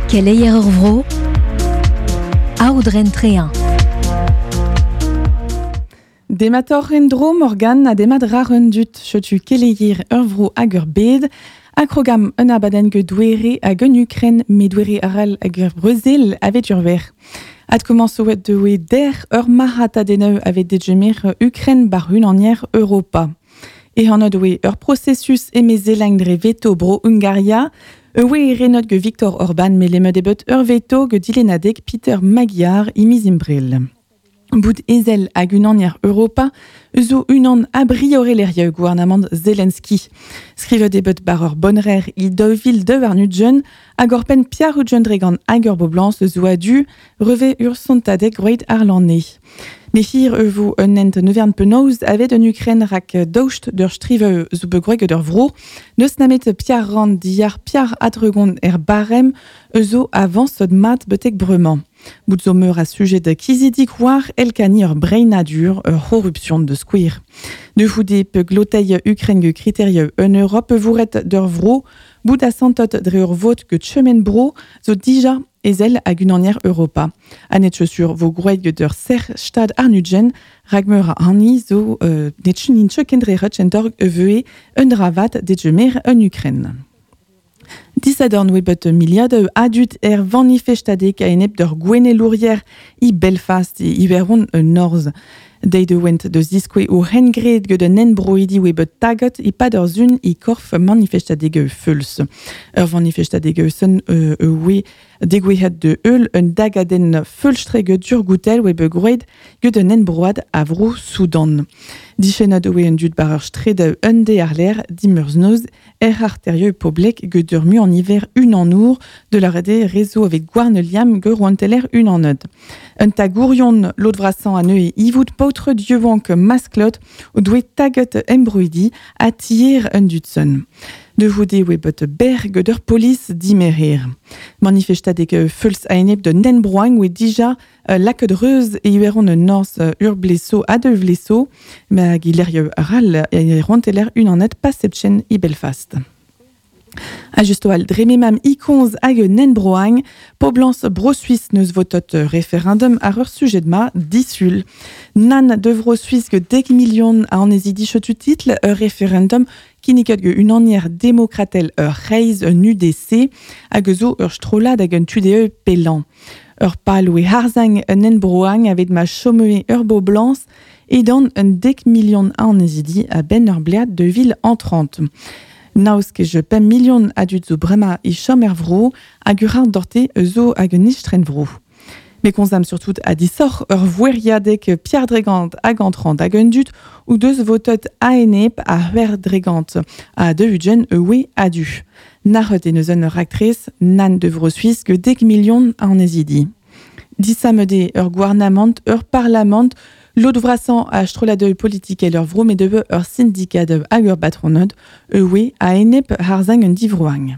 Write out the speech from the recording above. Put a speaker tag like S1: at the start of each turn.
S1: Keleier ur vro, Aodren Trehin.
S2: Dematoc'h en-dro Morgan ha demat rar un dud setu keleier ur vro hag ur bed. Akrogam un abadenn get douere hag un Ukren met douere arall hag ur Brezel avet ur ver. Ad komañsoet deue der ur marc'hatadennoù avet degemer Ukren bar unanier Europa. Ehanot oe ur processus emezelañ dre veto bro Hungaria, oe renot ge Viktor Orban melemet ebet ur veto ge dilennadeg Peter Magyar imiz imbrel. Bout ezel hag unanier Europa zo unan a briorelerieu gouarnamant Zelensky. Skrivet ebet bar ur bonrer i daou vil 2 ar nudjen hag ur penn Pierre Udjen dregan hag ur boblans zo adu reve ur sontadeg groet ar lanne. Me hir e vo un ent nevern penaos avet un Ukren rak daoust d'ur strive zo begroeg d'ur vro, neus namet Pierre Rand diar Pierre Adregon er barem zo avansot mat betek bremañ. Bout zo meur a sujet de kizidik war elkani ur breinadur ur corruption de squir. De foude pe glotei Ukren ge kriterie un Europe vourret d'ur vro, bout a santot dre ur vot ge chemen bro zo dija ezel hag unanier Europa. Anet chaussure vo groet ge d'ur ser stad arnudjen, rag meur a hani zo euh, netchun in chekendre rutsch en eveue un dravat degemer un Ukren. Disadorn oe bet miliadoù adut er vanifestadek a enep d'ur gwenelourier i Belfast e Iwerzhon un Norzh. Deit de went deus diskoe o hengred get un enbroidi oe bet taget e pad ur zun i korf manifestadeg feuls. Ur manifestadeg sen oe degouezhet de eul un dagadenn feulstreg dur goutel oe bet groet get un enbroad a vro Soudan. Dichenad oe un dud bar ur stred un de ar l'air dimeurznoz er arterieu poblek get ur mu an hiver un an our de la rede réseau avec gwarn liam ge roanteler un an eud. Un tagourion l'autre vrasan a neu e ivout paotre dieuvank masklot o doe taget embroidi a tier un dudson. De voude oe bet berg d'ur polis dimerir. Manifestadeg feuls a enep de nenbroang oe dija laket reuz e ueron un norz ur bleso a de vleso, ma gilerio ral e roanteler un an et pasepchen i Belfast. A justo al drememam ikonz hag nenbroang, poblans bro-Suisse neus votot référendum ar ur sujet ma disul. Nan de vro-Suisse ge dek million a anezi dichotu title ur référendum kinniket ge unanier demokratel ur reiz un UDC hag zo ur strolad hag un tude pelan. Ur pal oe harzang un enbroang avet ma chomee ur boblans edan un dek million a anezidi a ben ur blead de vil en 30. Naus ket je pemp million a dud zo brema e chom er vro hag ur ar dorte zo hag un istren vro. Me konzam surtout a disoc'h ur voueriadek Pierre Dregant hag antrant hag un dud ou deus votot a-enep a huer Dregant a de ugen ewe adu. Narret e neus un ur actrice nan de vro Suisse ge dek million a anezidi. Disamede ur gouarnamant ur parlament L'autre vrasan a stroladeu politique ur vro met ur syndikat hag ur batronod ewe a enep harzang un divroang.